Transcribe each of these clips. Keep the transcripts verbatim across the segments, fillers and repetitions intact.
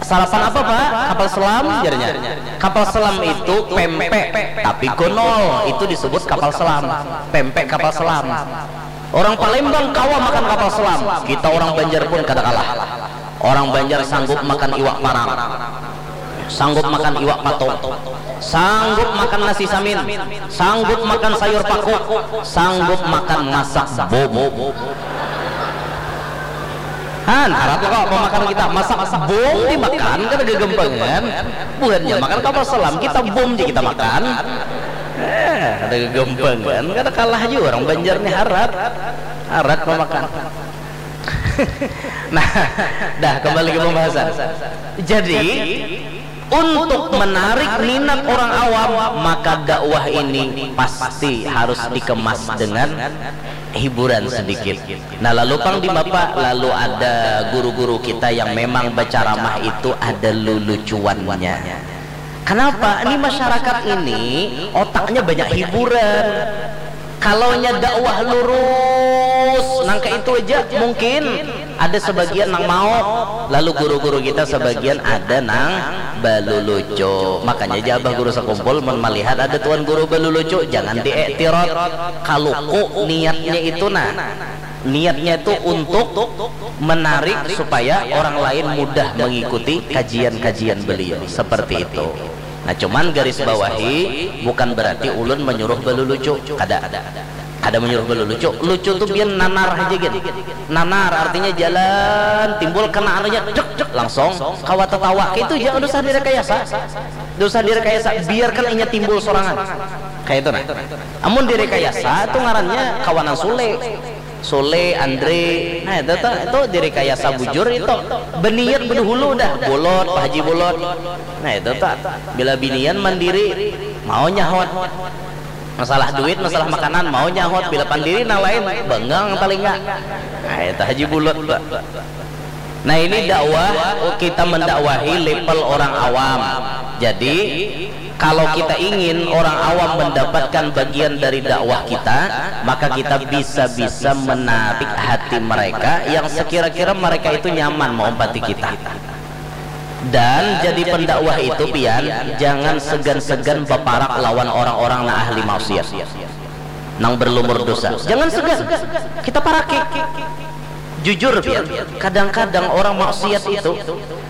Sarapan apa, Pak? Kapal selam, jarnya. Kapal selam itu pempek, tapi gonol, itu disebut kapal selam. Pempek kapal selam. Orang Palembang kawa makan kapal selam, kita orang Banjar pun kada kalah. Orang Banjar sanggup makan iwak parang, sanggup makan iwak patung, sanggup makan nasi samin, sanggup makan sayur paku, sanggup makan masak bobo. Han, harap kok pemakan kita masak bom dimakan kada gegempengan. Buhannya makan kapal selam, kita bom aja kita makan. Eh, ada gegempengan, kada kalah juga orang Banjar nih, harat. Harat memakan. Nah, dah, kembali ke pembahasan. Jadi, untuk menarik minat orang awam, maka dakwah ini pasti harus dikemas dengan hiburan sedikit. Nah, lalu pang di mapa, lalu ada guru-guru kita yang memang berceramah itu ada lulucuannya. Kenapa? Ini masyarakat ini otaknya banyak hiburan. Kalau nya dakwah lurus, nang kayak itu aja mungkin ada sebagian nang mau. Lalu guru-guru kita sebagian ada nang balulucu. Makanya aja abah guru sekumpul mun melihat ada tuan guru balulucu, jangan diiktirot. Kaluku niatnya itu, nah. Niatnya itu untuk menarik supaya orang lain mudah mengikuti kajian-kajian beliau. Seperti itu. Nah, cuman garis bawahi, bukan berarti ulun menyuruh balulucu. Kada. Kada menyuruh balulucu. Lucu tuh biar nanar aja gin. Nanar artinya jalan, timbul kena anunya, dek, dek, langsung kawa tetawa. Kayak itu aja, nggak usah direkayasa. Nggak usah direkayasa, biarkan inya timbul sorangan. Kayak itu nah. Amun direkayasa tuh ngarannya kawanan Sule. Sule, Andre, nah itu tuh, itu direkayasa bujur itu. Beniat bedahulu dah, bolot, Pak Haji Bolot. Nah itu tuh, bila binian mandiri, mau nyahot. Masalah duit, masalah makanan, mau nyahot. Bila pandiri nang lain, bengang talinga. Nah itu Haji Bolot tuh. Nah ini dakwah, kita mendakwahi level orang awam. Jadi kalau kita ingin orang awam mendapatkan bagian dari dakwah kita, maka kita bisa-bisa menarik hati mereka yang sekira-kira mereka itu nyaman mengompati kita. Dan jadi pendakwah itu, pian, jangan segan-segan baparak lawan orang-orang nang ahli maksiat, nang berlumur dosa. Jangan segan. Kita paraki. Jujur, pian, kadang-kadang orang maksiat itu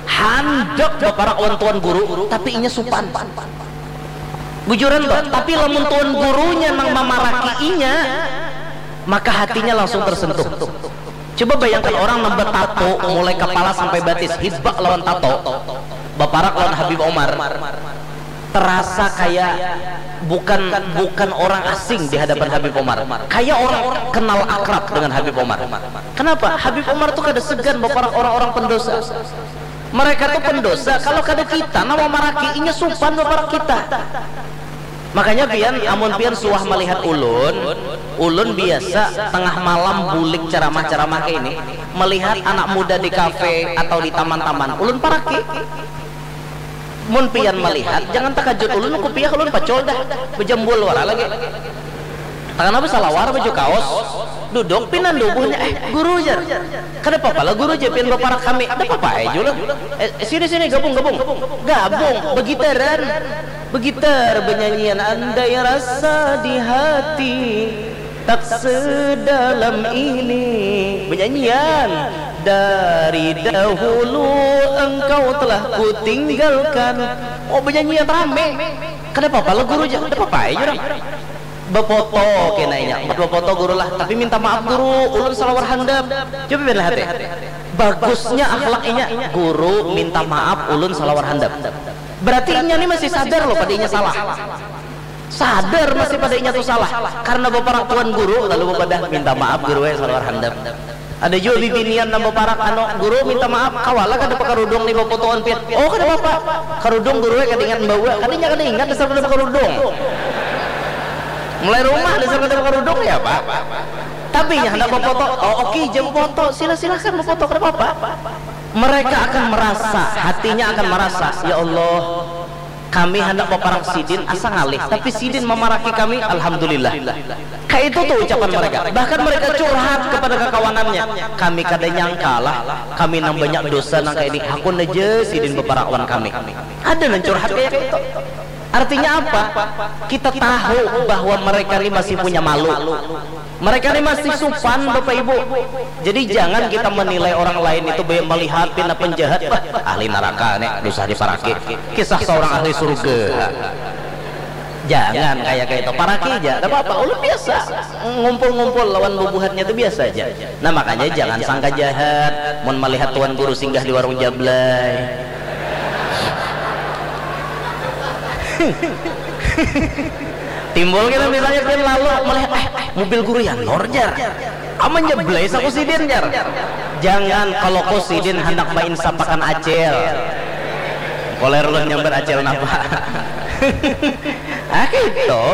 handak baparak lawan tuan guru, tapi inya supan. Bujuran tuh, tapi lamun tuan gurunya nang mamaraki inya, maka hatinya langsung tersentuh. Coba bayangkan orang nang betato mulai kepala sampai batis, hibak lawan tato, baparak lawan Habib Omar, terasa kayak bukan bukan orang asing di hadapan Habib Omar, kayak orang kenal akrab dengan Habib Omar. Kenapa? Habib Omar tuh kada segan baparak orang-orang pendosa. Mereka tuh pendosa, kalau kada kita nama maraki inya supan baparak kita. Makanya pian, amun pian suah melihat ulun, ulun biasa tengah malam bulik ceramah-ceramah kayak ini, melihat anak muda di kafe atau di taman-taman, ulun paraki. Mun pian melihat, jangan takajut ulun, kupiah ulun pacul dah, bejambul wara lagi. Tangan apa salawar, baju kaos, duduk pinan dubuhnya, eh guru jar. Kada papa lah guru jar pian baparak kami, kada papa ai jua lah. Eh, sini sini gabung gabung. Gabung, begitaran. Begitar benyanyian andai rasa di hati tak sedalam ini. Benyanyian dari dahulu engkau telah kutinggalkan. Oh benyanyian rame. Kada papa lah guru jar, kada papa ai jua. Befoto kena inya, buat befoto guru lah, tapi minta maaf guru, ulun salawar handap. Coba pian lihat deh. Bagusnya akhlak inya, guru minta maaf ulun salawar handap. Berarti inya ni masih sadar loh pada inya salah. Sadar masih pada inya tu salah. Karena baparak tuan guru, lalu bapadah minta maaf guru eh salawar handap. Ada jua bibinian nang baparak, anu, guru minta maaf, kawalah kada pakarudung ni bafotoan pian. Oh kada papa, karudung guru eh kada ingat membawa, kada inya kada ingat dasar kada pakarudung. Mulai rumah dasar kada pakarudung ya pak. Tapi inya handak bafoto, oh oke jar bafoto, sila silakan bafoto kada papa. Mereka akan merasa, hatinya akan merasa, ya Allah, Kami handak baparang sidin, asa ngalih, tapi sidin mamaraki kami, alhamdulillah. Kayak itu tuh ucapan mereka. Bahkan mereka curhat kepada kakawanannya. Kami kada nyangka lah, kami nang banyak dosa nang kayak ini. Hakun aja sidin baparang lawan kami. Ada nang curhat kayak itu. Artinya apa? Kita tahu bahwa mereka ini masih punya malu. Mereka ini masih supan, Bapak Ibu. Jadi jangan kita menilai orang lain itu banyak melihat pina penjahat. Wah, ahli neraka nih, dosa diparaki. Kisah seorang ahli surga. Jangan kayak kayak itu, paraki aja, tidak apa-apa. Ulun biasa ngumpul-ngumpul lawan bubuhannya itu biasa aja. Nah, makanya jangan sangka jahat mun melihat tuan guru singgah di warung jablay. Timbul kita misalnya pian lalu melihat, eh, mobil guru Yanor, jar. Aman jablay saku sidin, jar. Jangan, kalau ku sidin handak mainsapakan acil. Koler ulun nyambat acil napa? Ah, gitu.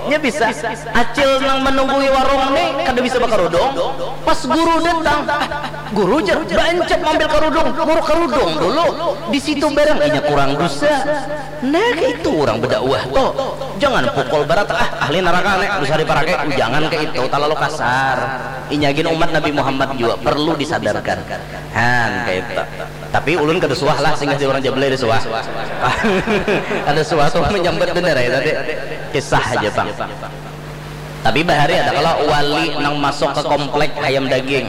Nya bisa. Acil nang menunggui warung nih kada bisa bakarudung. Pas guru datang, ah, guru, jar, baancap mambil karudung, muruk karudung dulu. Di situ barang inya kurang dosa. Nah, kayak itu orang berdakwah tuh. Jangan pukul berat, ah, ahli neraka nih, dosa diparaki. Jangan kayak itu, terlalu kasar. Inya gin umat Nabi Muhammad juga perlu disadarkan. Han, kayak itu. Tapi ulun kada suah lah singgah di orang jablay, ada suah. Ada suah tuh menyambat bener ya tadi. Kisah aja, Bang. Tapi bahari ada kalau wali nang masuk ke komplek hayam daging.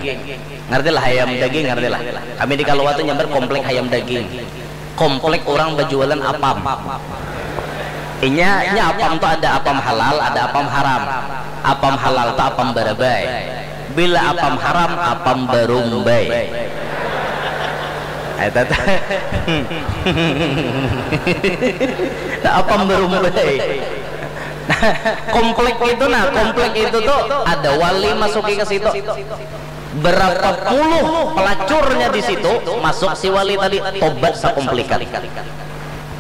Ngerti lah hayam daging, ngerti lah. Kami di Kalua tuh nyambat komplek hayam daging. Komplek orang berjualan apam. Inya, inya apam tuh ada apam halal, ada apam haram. Apam halal tuh apam barabai. Bila apam haram, apam barumbai. Eta tuh. Nah, apam barumbai. Nah, komplek itu, nah, komplek itu tuh ada wali masuki ke situ. Berapa puluh pelacurnya di situ, masuk si wali tadi, tobat sakomplikan.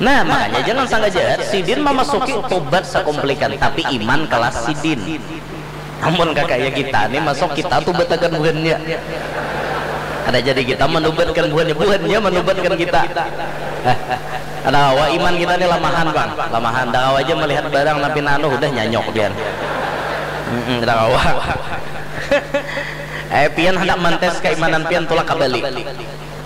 Nah, makanya jangan sangka jahat, sidin memasuki tobat sakomplikan, tapi iman kelas sidin. Amun kakaya kita nih masuk, kita tubatakan buhannya. Ada jadi kita menubatkan buhannya, buhannya menubatkan kita. Ada kawa iman kita nih lamahan, Bang. Lamahan. Ada kawa aja melihat barang napi nanu, udah nyanyok pian. Mm-mm, ada kawa. Eh, pian hendak mentes keimanan pian, tulak ke Bali.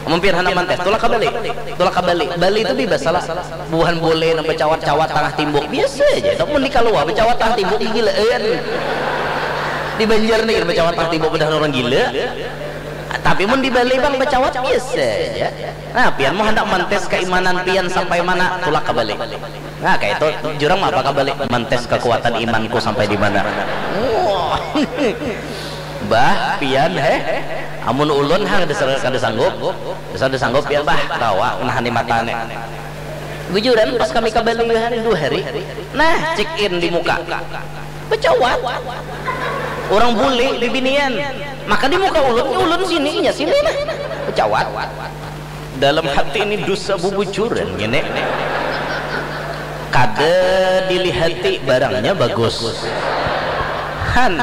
Amun pian handak mantes, tulak ka Bali. Tulak ka Bali. Bali tu bibas salah. Buhan bule nang bacawat-cawat tangah timbuk, biasa aja. Tapi mun di Kalua bacawat tangah timbuk, gigilaan. Di Banjar ni kada bacawat tangah timbuk, padahal urang gila. Tapi mun di Bali, bang, bacawat biasa aja. Nah, pian mun handak mantes kaimanan pian sampai mana, tulak ka Bali. Nah, kaya itu, jurang mapa ka Bali, mantes kakuatan imanku sampai di mana. Wah. Bah, pian, heh. Amun ulun, ha, kada sa-, kada sanggup. Kada sanggup pian, bah. Kawa, nahani mata ni. Bujuran, pas kami ka Bali, hari, dua hari. Nah, check in di muka. Bacawat. Urang bule, bibinian. Maka di muka ulun, ulun sini, inya sini, nah. Bacawat. Dalam hati ini dosa bubujuran, ngini. Kada dilihati, barangnya bagus. Han.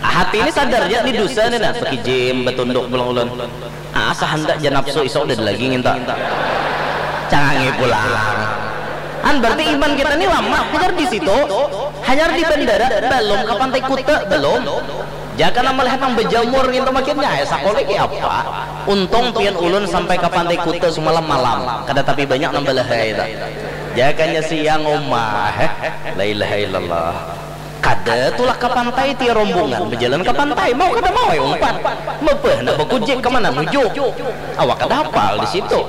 Hati ini sadar ja, ni dosa ni nah, bakijim, batunduk pulang ulun. Asa handak ja nafsu, isuk ada lagi nginta. Cangangi pulang. Han, berarti iman kita ni lamah, hanyar di situ, hanyar di bandara, balum ka Pantai Kuta, balum. Jaka nang malihat nang bajamur ngintu makinnya, ai, sakola iki apa? Untung pian ulun sampai ka Pantai Kuta sumalam malam, kada tapi banyak nang balahai ta. Jakanya siang uma, heh, la ilaha illallah. Kada tulak ka pantai, tia rombongan bajalan ka pantai, mau kada mau, ai, umpat. Mabah handak bakujik ka mana nuju. Awak kada hapal di situ.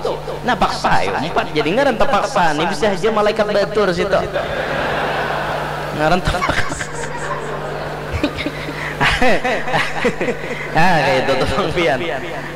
Nah, paksa, ai, umpat. Jadi ngaran tapaksa ni bisa haja malaikat batur situ. Ngaran tapaksa. Nah, kayak itu tuh, Bang Pian.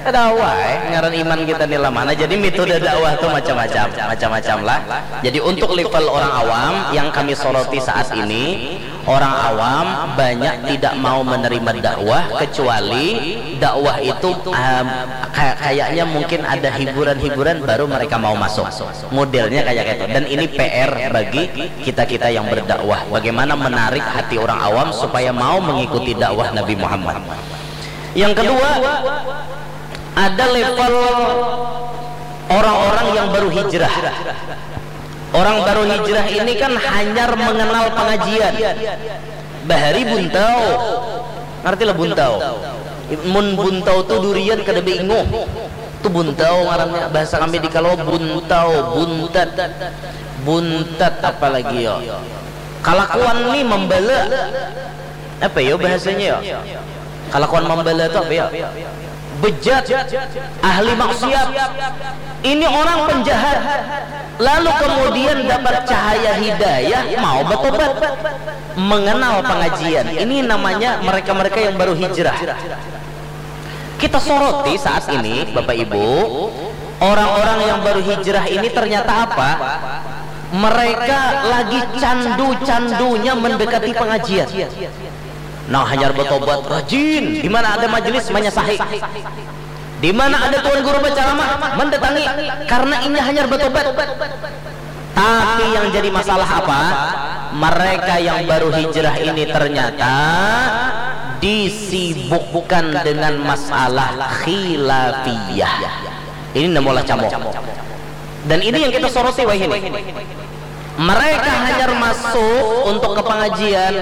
Ada awai, ngaran iman kita ni lamah. Nah, jadi metode dakwah tuh macam-macam, macam-macam lah. Jadi untuk level orang awam yang kami soroti saat ini, orang awam banyak tidak mau menerima dakwah kecuali dakwah itu, em, kayak, kayaknya mungkin ada hiburan-hiburan baru mereka mau masuk. Modelnya kayak gitu. Dan ini P R bagi kita-kita yang berdakwah. Bagaimana menarik hati orang awam supaya mau mengikuti dakwah Nabi Muhammad. Yang kedua, ada level orang-orang yang baru hijrah. Orang baru hijrah ini kan hanyar mengenal pengajian. Bahari buntau. Ngerti lah buntau? Mun buntau tu durian kada bainguh. Tu buntau ngarannya. Bahasa kami di Kalawa buntau, buntat. Buntat apa lagi yo? Kalakuan ni membela. Apa yo bahasanya yo? Kalakuan membela tu apa yo? Bejat, ahli maksiat. Ini orang penjahat. Lalu kemudian dapat cahaya hidayah, mau bertobat. Mengenal pengajian. Ini namanya mereka-mereka yang baru hijrah. Kita soroti saat ini, Bapak Ibu, orang-orang yang baru hijrah ini ternyata apa? Mereka lagi candu-candunya mendekati pengajian. Nah, hanyar bertobat rajin. Di mana ada majelis, manyasahi. Di mana ada tuan guru berceramah, mendatangi. Karena inya hanyar bertobat. Tapi yang jadi masalah apa? Mereka yang baru hijrah ini ternyata disibukkan dengan masalah khilafiyah. Ini namulah camuk. Dan ini yang kita soroti wahini. Mereka hanyar masuk untuk ke pengajian,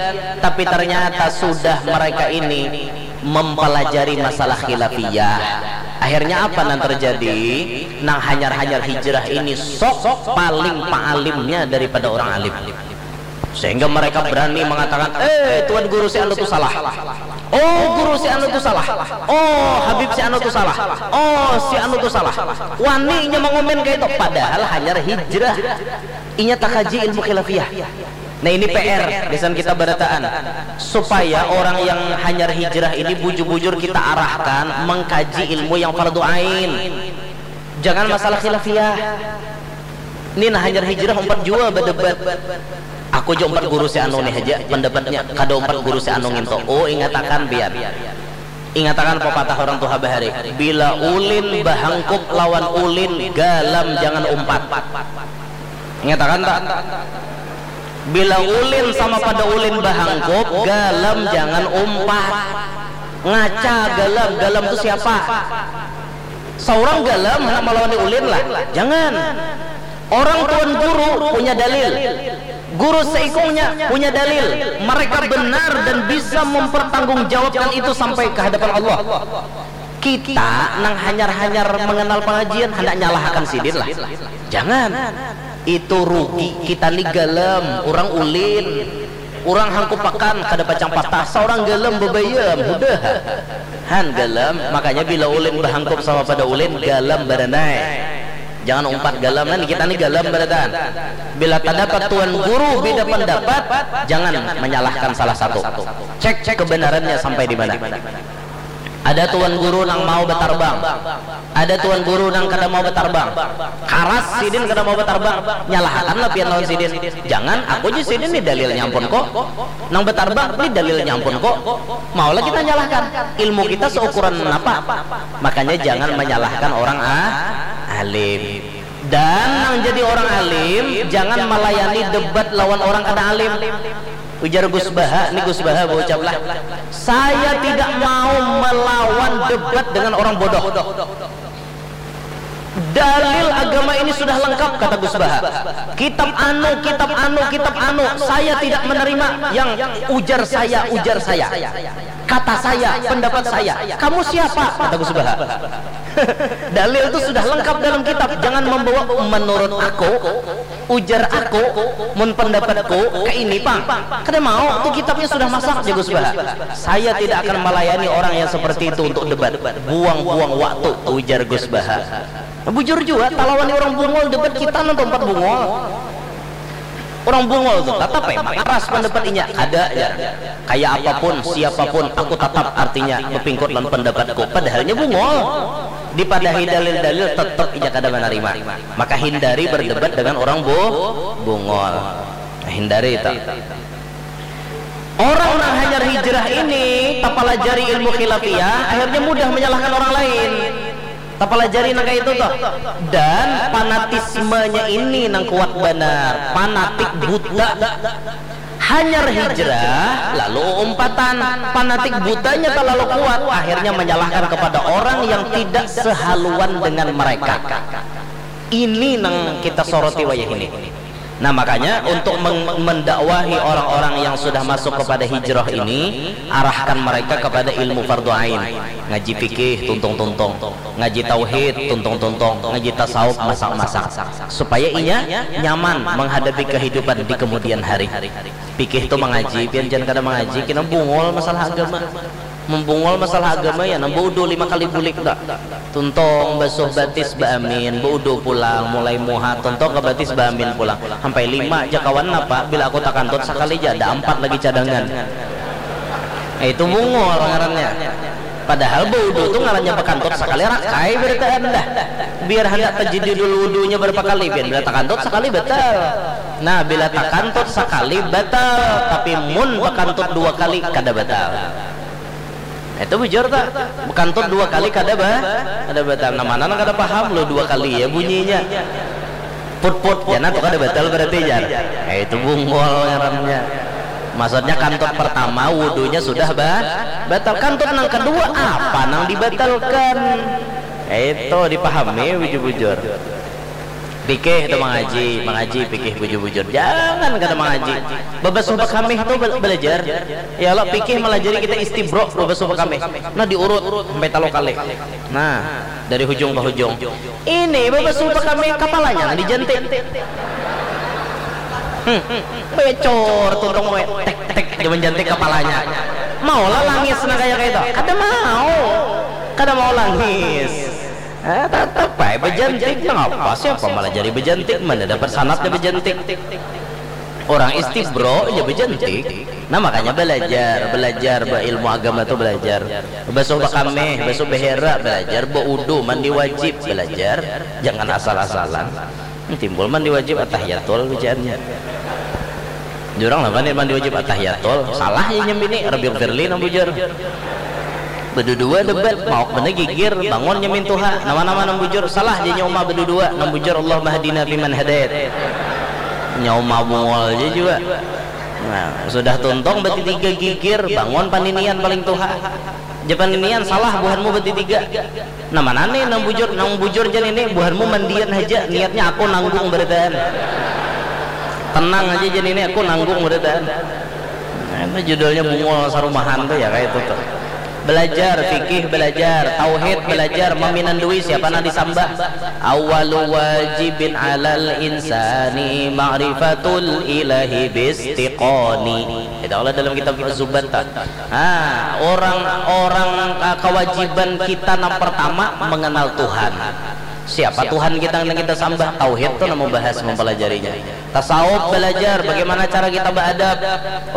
tapi ternyata sudah mereka ini mempelajari masalah khilafiyah. Akhirnya apa nang terjadi? Nang hanyar-hanyar hijrah ini sok paling paalimnya daripada orang alim. Sehingga mereka berani mengatakan, "Eh, Tuan Guru si anu tu salah. Oh, Guru si anu tu salah. Oh, Habib si anu tu salah. Oh, si anu tu salah." Wani inya mengomen kayak itu, padahal hanyar hijrah. Inya takaji ilmu khilafiyah. Nah, ini P R gasan kita barataan, supaya orang yang hanyar hijrah ini bujur-bujur kita arahkan mengkaji ilmu yang fardu ain. Jangan masalah khilafiyah. Ini nah hanyar hijrah umpat jua berdebat. Aku jua umpat guru si anu nih aja pendapatnya, kada umpat guru si anu nginto. Oh, ingatakan biar. Ingatakan pepatah orang tuha bahari, "Bila ulin bahangkup lawan ulin, galam jangan umpat." Ingatakan tak? "Bila ulin sama pada ulin bahangkup, galam jangan umpat." Ngaca galam, galam tu siapa? Seorang galam hendak melawani ulin lah. Jangan. Orang tuan guru punya dalil. Guru seikungnya punya dalil. Mereka benar dan bisa mempertanggungjawabkan itu sampai ke hadapan Allah. Kita nang hanyar-hanyar mengenal pengajian, hendak nyalahkan sidin lah. Jangan. Itu rugi. Kita ni galam, orang ulin. Orang hangkupakan kada pacang patah, seorang galam bebayam, hudah. Han galam, makanya bila ulin bahangkup sama pada ulin, galam baranai. Jangan umpat galam, nah, kita ni galam barataan. Bila terdapat tuan guru beda pendapat, jangan menyalahkan salah satu. Cek kebenarannya sampai di mana. Ada tuan guru nang mau betarbang, ada tuan guru nang kada mau betarbang. Karas sidin kada mau betarbang, nyalahakanlah pian lawan sidin. Jangan, aku ja sidin ni dalilnya ampun ko. Nang betarbang ni dalilnya ampun ko. Maulah kita nyalahkan. Ilmu kita seukuran napa? Makanya jangan menyalahkan orang ah, alim. Dan nang jadi orang alim, jangan melayani debat lawan orang kada alim. Ujar Gus Baha, ni Gus Baha baucap lah, "Saya tidak mau melawan debat dengan orang bodoh. Dalil agama ini sudah lengkap," kata Gus Baha. "Kitab anu, kitab anu, kitab anu, saya tidak menerima yang ujar saya, ujar saya. Kata saya, pendapat saya. Kamu siapa?" kata Gus Baha. Dalil tu sudah lengkap dalam kitab. Jangan membawa menurut aku, ujar aku, mun pendapatku, ke ini pang. Kada mau, tu kitabnya sudah masak, jagus baha. Saya tidak akan melayani orang yang seperti itu untuk debat. Buang-buang waktu, ujar Gus Baha. Bujur jua, talawani orang bungul debat kita nang tempat bungul. Orang bungul tu tatap ai makaras pandapatinya, kada jar. Kaya apapun, siapapun, aku tatap artinya bapingkut lawan pandapatku, padahalnya bungul. Dipadahi dalil-dalil tetap inya kada manarima. Maka hindari berdebat dengan orang bu bungul. Hindari itu. Orang nang hanyar hijrah ini tapalajari ilmu khilafiyah, akhirnya mudah menyalahkan orang lain. Tapalajari nang kaya itu tuh. Dan fanatismenya ini nang kuat banar, fanatik buta. Hanyar hijrah, lalu umpatan. Fanatik butanya terlalu kuat, akhirnya menyalahkan kepada orang yang tidak sehaluan dengan mereka. Ini nang kita soroti wayah ini. Nah, makanya untuk meng- mendakwahi orang-orang yang sudah masuk kepada hijrah ini, arahkan mereka kepada ilmu fardu ain. Ngaji fikih tuntung-tuntung, ngaji tauhid tuntung-tuntung, ngaji tasawuf masak-masak, supaya inya nyaman menghadapi kehidupan di kemudian hari. Fikih tu mengaji, pian jangan kada mengaji, kena bungul masalah agama. Membungul masalah agama ya, nang baudu lima kali bulik dah. Tuntong basuh batis baamin, baudu pulang, mulai muha, tuntong ke batis baamin pulang. Sampai lima ja kawan napa, bila aku takantut sakali ja, ada ampat lagi cadangan. Eh, itu bungul ngarannya. Padahal baudu tu ngarannya bakantut sakali rakai berataan dah. Biar handak tajadidul wudunya berapa kali, biar bila takantut sakali batal. Nah, bila takantut sakali batal, tapi mun bakantut dua kali kada batal. Itu bujur tak? Kantut dua kali kada ba, kada batal. Nah, mana nang kada paham lo dua kali ya bunyinya. Put put, jangan tuh kada batal berarti jar. Eh, itu bungul ngarannya. Maksudnya kantut pertama wudunya sudah ba, batal. Kantut nang kedua apa nang dibatalkan? Eh, itu dipahami bujur-bujur. Pikih tu mengaji, mengaji pikih bujur-bujur. Jangan kada mengaji. Babasuh bakamih tu bel- belajar. Ya Allah, pikih melajari kita istibro babasuh bakamih. Nah, diurut sampai talu kali. Nah, dari hujung ke hujung. Ini babasuh bakamih kapalanya nang dijantik. Hmm, becor tuntung we, tek tek aja menjantik kapalanya. Maulah langis nah kayak itu. Kada mau. Kada mau langis. Eh, tetap baik bejantik. Nang apa siapa malah jadi bejantik? Mana dapat sanatnya bejantik? Orang istibro aja bejantik. Nah, makanya belajar, belajar berilmu agama tuh belajar. Basuh bakameh, basuh behera belajar, baudu, mandi wajib belajar. Jangan asal-asalan. Timbul mandi wajib atahiyatul bacaannya. Jurang lah mandi, mandi wajib atahiyatul. Salah ya nyambini, Rabbi firli nang bujur. Bedudua debat, mauk benda gigir, bangun nyamin tuha, nama-nama nang bujur, salah ja nyauma bedudua, nang bujur Allahumma hadina fiman hadait. Nyauma bungul ja jua. Nah, sudah tuntung betitiga gigir, bangun paninian paling tuha. Ja paninian salah buhanmu betitiga. Nah, mana nih nang bujur, nang bujur ja nini buhanmu mandian haja, niatnya aku nanggung berataan. Tenang aja ja nini aku nanggung berataan. Nah, itu judulnya bungul sarumahan tuh ya kayak itu tuh. Belajar fikih, belajar tauhid, belajar maminandui siapa nang disambah. Awalu wajibin alal insani ma'rifatul ilahi bistiqoni. Itu Allah dalam kitab Zubat ta. Ah, orang-orang, ah, kewajiban kita nang pertama mengenal Tuhan. Siapa Tuhan kita nang kita sambah? Tauhid tuh nang membahas, mempelajarinya. Tasawuf belajar bagaimana cara kita beradab.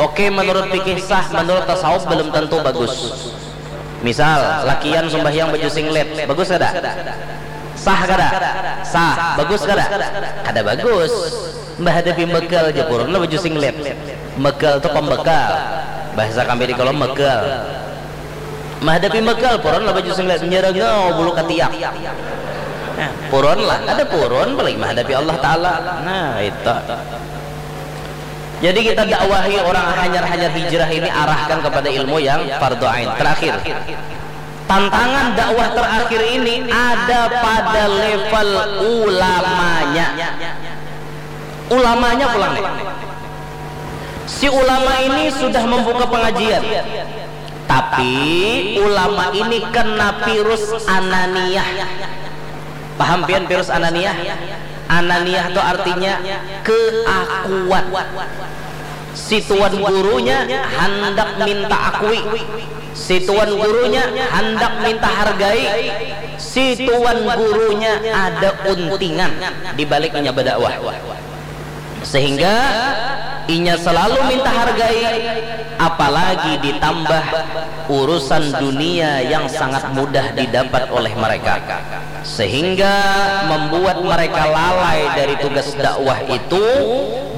Oke, menurut fikih sah, menurut tasawuf belum tentu bagus. Misal, lakian sembahyang baju singlet, bagus kada? Sah kada? Sah. Bagus kada? Kada bagus. Menghadapi megal aja purun lah baju singlet. Megal tuh pembekal. Bahasa kami di kalau megal. Menghadapi megal purun lah baju singlet, nyerengau bulu katiak. Nah, purun lah, ada purun paling menghadapi Allah Ta'ala. Nah, itu. Jadi kita dakwahi orang hanyar-hanyar hijrah ini, arahkan kepada ilmu yang fardu ain. Terakhir, tantangan dakwah terakhir ini ada pada level ulamanya. Ulamanya pulang nih. Si ulama ini sudah membuka pengajian, tapi ulama ini kena virus ananiah. Paham pian virus ananiah? Ananiah itu artinya keakuan. Si tuan gurunya handak minta akui. Si tuan gurunya handak minta hargai. Si tuan gurunya ada untingan di baliknya berdakwah. Sehingga inya selalu minta hargai, apalagi ditambah urusan dunia yang sangat mudah didapat oleh mereka, sehingga membuat mereka lalai dari tugas dakwah itu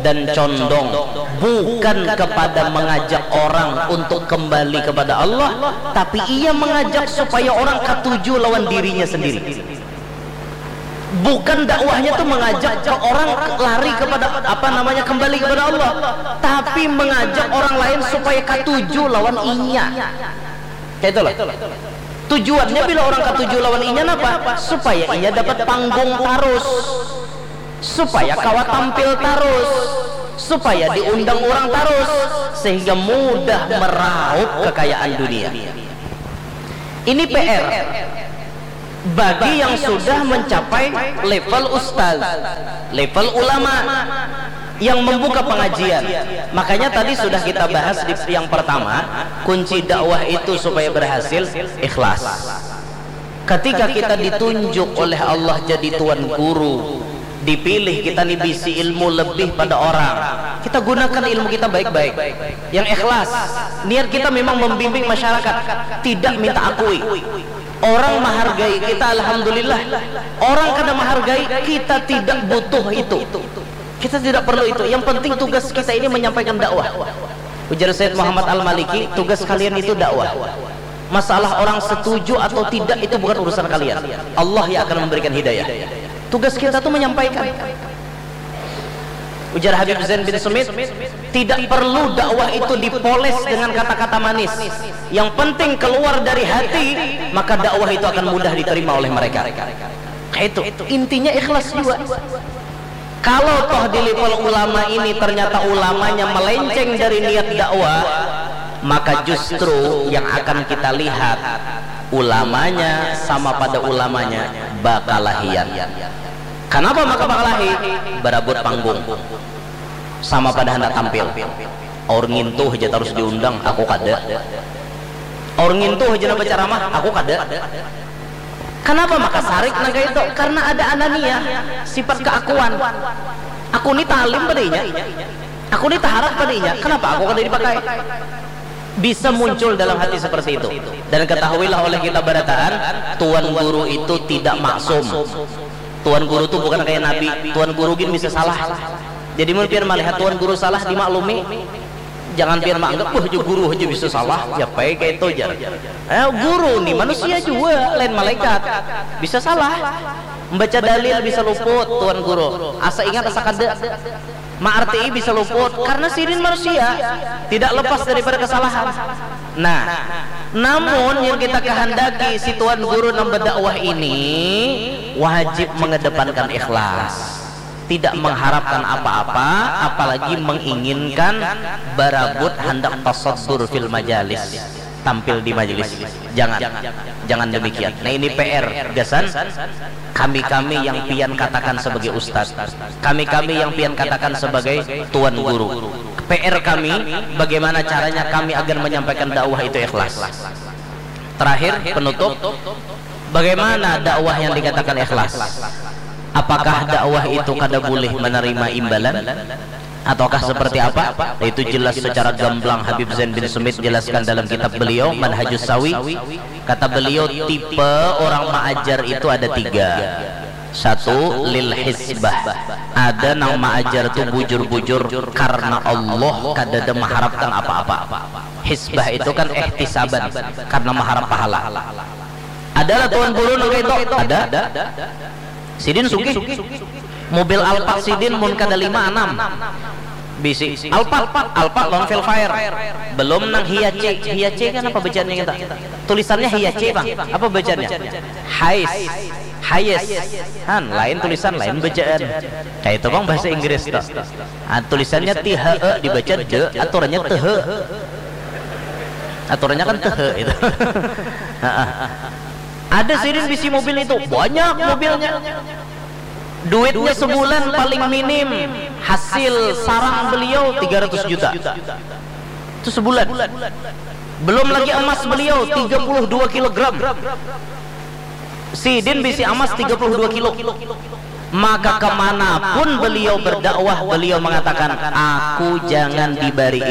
dan condong bukan kepada mengajak orang untuk kembali kepada Allah, tapi ia mengajak supaya orang katuju lawan dirinya sendiri. Bukan dakwahnya tuh mengajak ke orang lari kepada apa namanya, kembali kepada Allah, tapi mengajak orang lain supaya katuju lawan inya. Kayak itulah. Tujuannya bila orang katuju lawan inya napa? Supaya inya dapat panggung tarus. supaya kawa tampil tarus, supaya diundang orang tarus, sehingga mudah meraup kekayaan dunia. Ini P R bagi yang sudah mencapai level ustaz, level ulama, yang membuka pengajian. Makanya tadi sudah kita bahas di yang pertama, kunci dakwah itu supaya berhasil, ikhlas. Ketika kita ditunjuk oleh Allah jadi tuan guru, dipilih kita ni bisi ilmu lebih pada orang, kita gunakan ilmu kita baik-baik, yang ikhlas. Niat kita memang membimbing masyarakat, tidak minta akui. Orang menghargai kita, alhamdulillah. Orang kada menghargai kita, tidak butuh itu. Kita tidak perlu itu. Yang penting tugas kita ini menyampaikan dakwah. Ujar Sayyid Muhammad Al-Maliki, tugas kalian itu dakwah. Masalah orang setuju atau tidak itu bukan urusan kalian. Allah yang akan memberikan hidayah. Tugas kita tuh menyampaikan. Ujar Habib Zain bin Sumit, tidak perlu dakwah itu dipoles dengan kata-kata manis. Yang penting keluar dari hati, maka dakwah itu akan mudah diterima oleh mereka. Kayak itu. Intinya ikhlas juga. Kalau toh di level ulama ini ternyata ulamanya melenceng dari niat dakwah, maka justru yang akan kita lihat ulamanya sama pada ulamanya bakalahian. Kenapa maka bakalahi? Barabut panggung. Sama pada hendak tampil. Aur ngintu aja terus diundang, aku kada. Aur ngintu aja nak berceramah, aku kada. Kenapa maka sarik naga itu? Karena ada anania, sifat keakuan. Aku ni talim padanya. Aku ni taharat padanya. Kenapa aku kada dipakai? Bisa muncul dalam hati seperti itu. Dan ketahuilah oleh kita barataan, tuan guru itu tidak maksum. Tuan guru tu bukan kayak nabi. Tuan guru gin bisa salah. Jadi mun pian melihat tuan guru salah, dimaklumi. Jangan pian menganggap, wah, jo guru aja bisa salah. Ya, pai kayak itu, jar. Eh, guru ni manusia juga, lain malaikat. Bisa salah. Membaca dalil bisa luput, tuan guru. Asa ingat, asa kada. Maartii bisa luput, karena sidin manusia. Tidak lepas daripada kesalahan. Nah, namun yang kita kehendaki si tuan guru nang berdakwah ini wajib mengedepankan ikhlas. Tidak mengharapkan apa-apa, apalagi menginginkan barabut hendak tasadur fil majalis, tampil di majelis. Jangan, jangan demikian. Nah, ini P R gasan kami-kami yang pian katakan sebagai ustaz, kami-kami yang pian katakan sebagai tuan guru. P R kami, bagaimana caranya kami agar menyampaikan dakwah itu ikhlas. Terakhir, penutup, bagaimana dakwah yang dikatakan ikhlas? Apakah dakwah itu kada boleh menerima imbalan? Ataukah seperti apa? Itu jelas secara gamblang Habib Zain bin Sumit jelaskan dalam kitab beliau, Manhajus Sawi. Kata beliau, tipe orang maajar itu ada tiga. Satu, lil hisbah. Ada nang maajar tu bujur-bujur karena Allah, kadada mengharapkan apa-apa. Hisbah itu kan ihtisaban, karena mengharap pahala. Adalah tuan guru nang itu? Ada. Sidin sugih. Mobil Alphard sidin mun kada lima, anam. Bisi. Alphard, Alphard lawan Vellfire. Belum nang Hiace. Hiace kan apa bacaannya kita? Tulisannya Hiace, Bang. Apa bacaannya? Hais. Hayes. Han, lain tulisan, lain bacaan. Kayak itu, Bang, bahasa Inggris tuh. Ah, tulisannya T H E dibaca de, aturannya tehe. Aturannya kan tehe itu. Heeh. Ada sidin bisi mobil itu, banyak mobilnya. Duitnya sebulan paling minim hasil sarang beliau tiga ratus juta. Itu sebulan. Belum lagi emas beliau tiga puluh dua kilogram. Sidin bisi emas tiga puluh dua kilo. Maka kemanapun beliau berdakwah, beliau mengatakan, aku jangan dibari.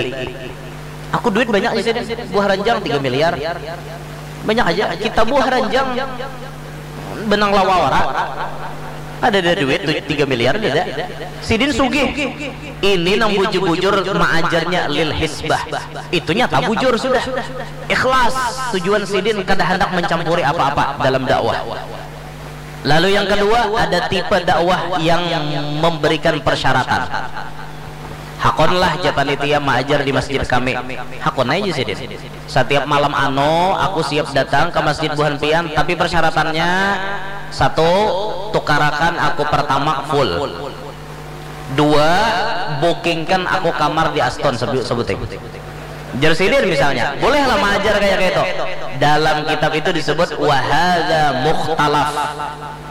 Aku duit banyak di sini, buah ranjang tiga miliar. Banyak aja. Kita buah ranjang benang lawa wara. Ada ada duit tu tiga miliar ada. Sidin sugih. Ini nang bujur-bujur maajarnya lil hisbah. Itu nyata bujur sudah. Ikhlas. Tujuan sidin kada hendak mencampuri apa-apa dalam dakwah. Lalu yang kedua, ada tipe dakwah yang memberikan persyaratan. Hakonlah ja panitia maajar di masjid kami. Hakon aja sidin. Setiap malam ano, aku siap datang ke masjid buhan pian, tapi persyaratannya satu, tukarakan aku pertama full. Dua, bookingkan aku kamar di Aston, sebu- sebuting. Jar sidin misalnya, bolehlah maajar kayak gitu. Dalam kitab itu disebut wahada mukhtalaf.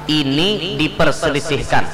Ini diperselisihkan.